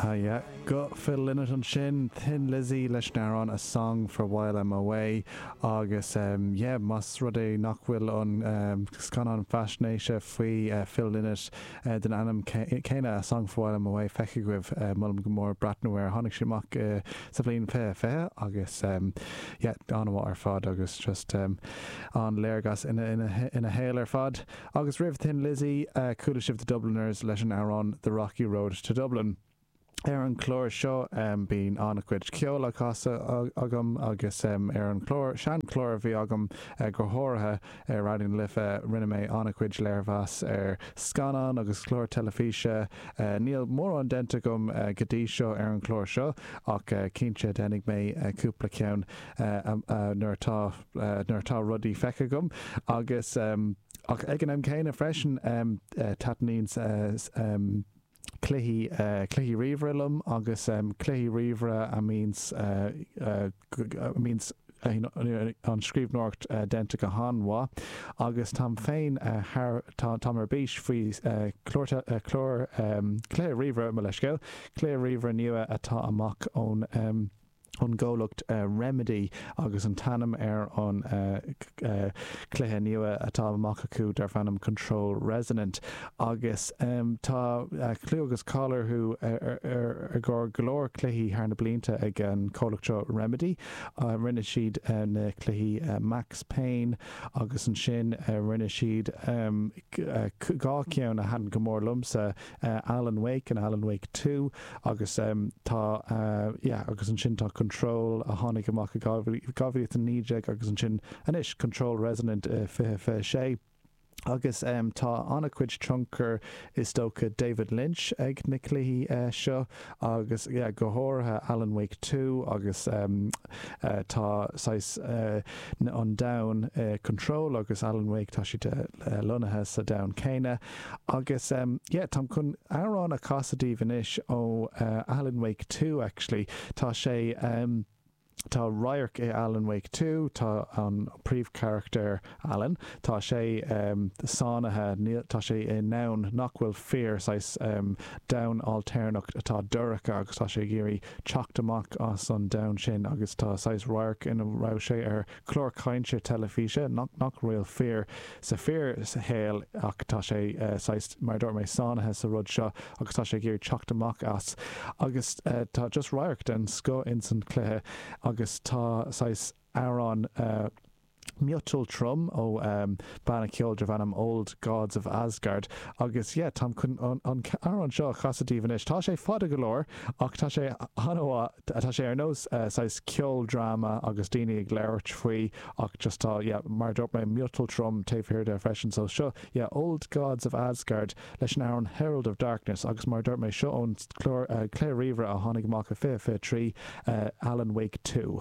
Yeah, guth Phil Lynott ansin, Thin Lizzy leis an amhrán A Song for While I'm Away agus yeah, más rud é nach bhfuil an scannán faisnéise faoi Phil Lynott den ainm céanna A Song for While I'm Away feicthe agaibh, molaim go mór breathnú air. Tháinig sé amach sa bhliain 2020 agus yeah, an-mhaith ar fad agus just an-léargas ina shaol ar fad. Agus roimh Thin Lizzy, chuala sibh The Dubliners leis an amhrán The Rocky Road to Dublin. Ar an chlár seo bíonn an-chuid ceoil á chasadh agam agus ar an chlár, seanchlár a bhí agam go háirithe ar Raidió na Life, rinne mé an-chuid léirmheas ar scannáin agus cláir teilifíse. Níl mórán déanta agam go dtí seo ar an chlár seo ach cinnte déanfaidh mé cúpla ceann nuair atá nuair atá rudaí feicthe agam agus ach ag an am céanna freisin taitníonn cluichí cluichí ríomhaire liom agus cluichí ríomhaire a mbíonns a mbíonns an scríbhneoireacht déanta go han-mhaith agus táim féin thar táim ar bís faoi chlár clár cluiche ríomhaire mo leithscéal cluiche ríomhaire nua atá amach ón ón gcomhlacht Remedy agus an t-ainm ar an cluiche nua atá amach acu darb ainm Control Resonant agus tá clú agus cáil orthu ar go leor cluichí thar na blianta ag an comhlacht seo Remedy. Rinne siad na cluichí Max Payne agus ansin rinne siad dhá cheann a thaitin go mór liomsa, Alan Wake and Alan Wake 2 agus tá yeah agus ansin tá Control a tháinig amach i 2019 agus ansin anois Control Resonant i 2026. Agus tá an-chuid tionchar is dócha David Lynch ag na cluichí seo agus yeah go háirithe Alan Wake 2 agus tá saghas an domhan Control agus Alan Wake tá siad lonnaithe sa domhan céanna. Agus yeah, táim chun amhrán a chasadh daoibh anois ó Alan Wake 2 actually. Tá sé, tá radharc i Alan Wake 2, tá an príomhcharachtar Alan, tá sé sáinnithe, níl, tá sé i ndomhan nach bhfuil fíor, saghas domhan ailtéarnach atá dorcha agus tá sé ag iarraidh teacht amach as an domhan sin agus tá saghas radharc ina raibh sé ar chlár cainte teilifíse nach nach bhfuil fíor sa fíorshaol ach tá sé saghas, mar a dúirt mé, sáinnithe sa rud seo agus tá sé ag iarraidh teacht amach as agus tá just radharc den scoth ins an chluiche agus tá saghas amhrán miotal trom ó banna ceoil darb ainm Old Gods of Asgard agus yeah táim chun an amhrán seo a chasadh daoibh anois. Tá sé fada go leor ach tá sé an-mhaith. Tá sé ar nós saghas ceoldráma agus daoine ag labhairt faoi ach just tá, yeah, mar a dúirt mé, miotal trom taobh thiar de freisin. So seo, yeah, Old Gods of Asgard leis an amhrán Herald of Darkness agus mar a dúirt mé, seo ón clár, cluiche ríomhaire a tháinig amach i 2023, Alan Wake 2.